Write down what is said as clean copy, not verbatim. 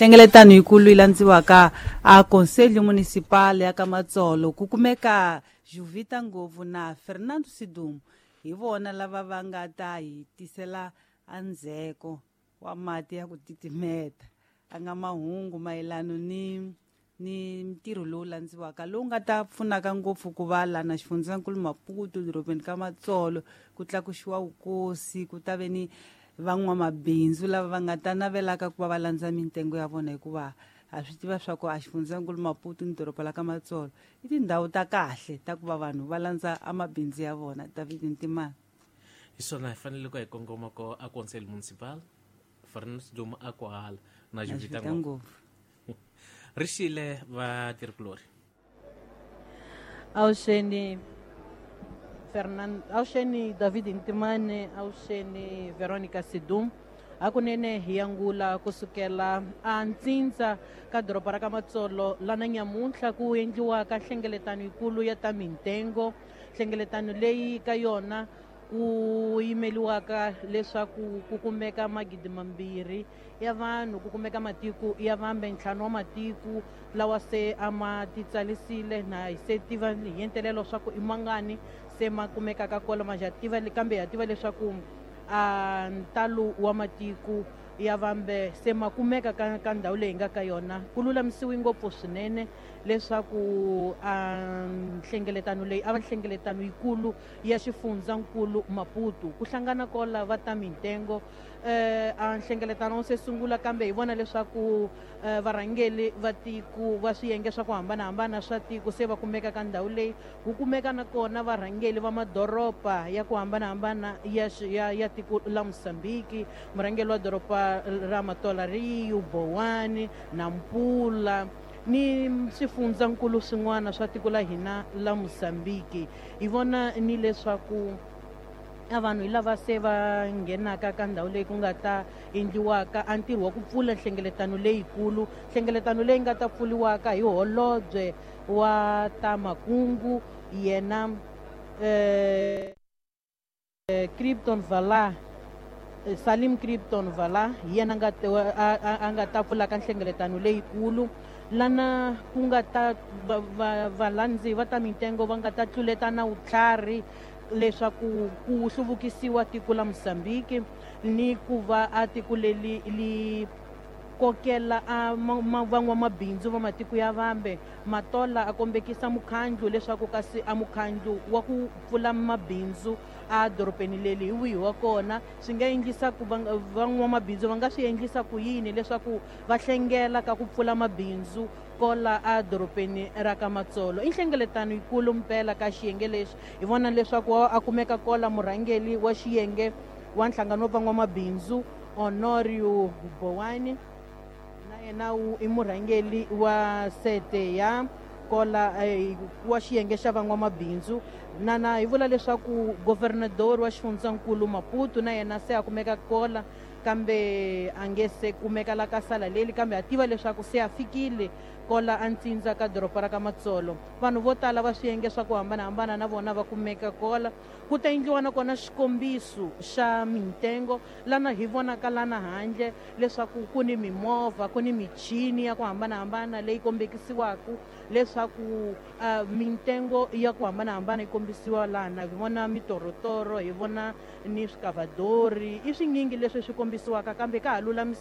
Nhlengeletano yikulu yi landziwaka a Conselho Municipal ya ka Matsolo ku kumeka Juvita Ngovu na Fernando Sidumo hi vona lava va nga ta hi tisela andzheko wa mati ya ku titimeta a nga mahungu mayelano ni ni ntirho lowu landziwaka lowu nga ta pfunaka ngopfu ku va lana xifundzankulu Maputo dorobeni ka Matsolo ku tlakuxiwa vukosi ku ta ve ni van'wamabindzu lava va nga ta navelaka ku va va landza mintengo ya vona hikuva ha swi tiva swa ku a xifundzankulu Maputo ni doroba la ka Matsolo i tindhawu ta kahle ta ku va vanhu va landza amabindzu ya vona. David Ntimana. Hi swona hi fanele ku hi kongoma ko a Conselho Municipal Fernando Sidumo a kwahala na Juvita Ngopfu ri xile vatirhikulori. Awuxeni Fernando, awuxeni David Ntimane, awuxeni Veronica Sidum. Hakunene hi angula kusukela a ntsindza ka doroba ra ka Matsolo lana nyamuntlha ku endliwaka nhlengeletano yikulu ya ta mintengo. Nhlengeletano leyi ka yona ku yimeliwaka leswaku ku kumeka 2,000 ya vanhu, ku kumeka matiko ya vambe 5 wa matiko lawa se a ma titsarisile na hi se tiva hi entelelo swa ku i mangani se ma kumekaka kona ma tiva kambe ha tiva leswaku a ntalo wa matiko ya vambe se ma kumeka ka ndhawu leyi nga ka yona. Ku lulamisiwe ngopfu swinene leswaku a nhlengeletano leyi a va nhlengeletano yikulu ya xifundzankulu Maputo ku hlangana kola va ta mintengo. A nhlengeletano wu se sungula kambe hi vona leswaku varhangeli va tiko va swiyenge swa ku hambanahambana swa tiko se va kumeka ka ndhawu leyi. Ku kumeka na kona varhangeli va madoroba ya ku hambanahambana ya tiko la Mozambique, murhangeli wa doroba ra Matola Rio, Bowani, Nampula ni swifundzankulu swin'wana swa tiko la hina la Mozambique. Hi vona ni leswaku a vanhu hi lava se va nghenaka ka ndhawu leyi ku nga ta endliwaka a ntirho wa ku pfula nhlengeletano leyikulu, nhlengeletano leyi nga ta pfuriwaka hi holobye wa ta makungu yena Krypton Vala, Salim Krypton Vala, hi yena a nga ta pfulaka nhlengeletano leyikulu lana ku nga ta valandzi va ta mintengo va nga ta tluletana vutlhari leswaku ku hluvukisiwa tiko la Mozambique ni ku va a tiko leri li kokela a van'wamabindzu va matiko ya vambe. Matola a kombekisa mukhandlu leswaku kasi a mukhandlu wa ku pfula mabindzu a dorobeni leri hi wihi wa kona, swi nga endlisa ku van'wamabindzu va nga swi endlisa ku yini leswaku va hlengela ka ku pfula mabindzu kola a dorobeni ra ka Matsolo. I nhlengeletano yikulu mpela ka xiyenge lexi hi vona leswaku a kumeka kola murhangeli wa xiyenge wa nhlangano wa van'wamabindzu Honorio Bowani, na yena i murhangeli wa sete ya kola wa xiyenge xa van'wamabindzu. Na hi vula leswaku governador wa xifundzankulu Maputo na yena se a kumeka kola kambe a nge se kumeka la ka sala leli, kambe a tiva leswaku se a fikile kola a ntsindza ka doroba ra ka Matsolo. Vanhu vo tala va swiyenge swa ku hambanahambana na vona va kumeka kola. Ku ta endliwa nakona xikombiso xa mintengo lana hi vonaka lana handle leswaku ku ni mimovha, ku ni michini ya ku hambanahambana leyi kombekisiwaka leswaku mintengo ya ku hambanahambana yi kombisiwa lana. Hi vona mitorotoro, hi vona ni swikavadori, i swinyingi leswi swi kombisiwaka kambe ka ha lulamisiwa.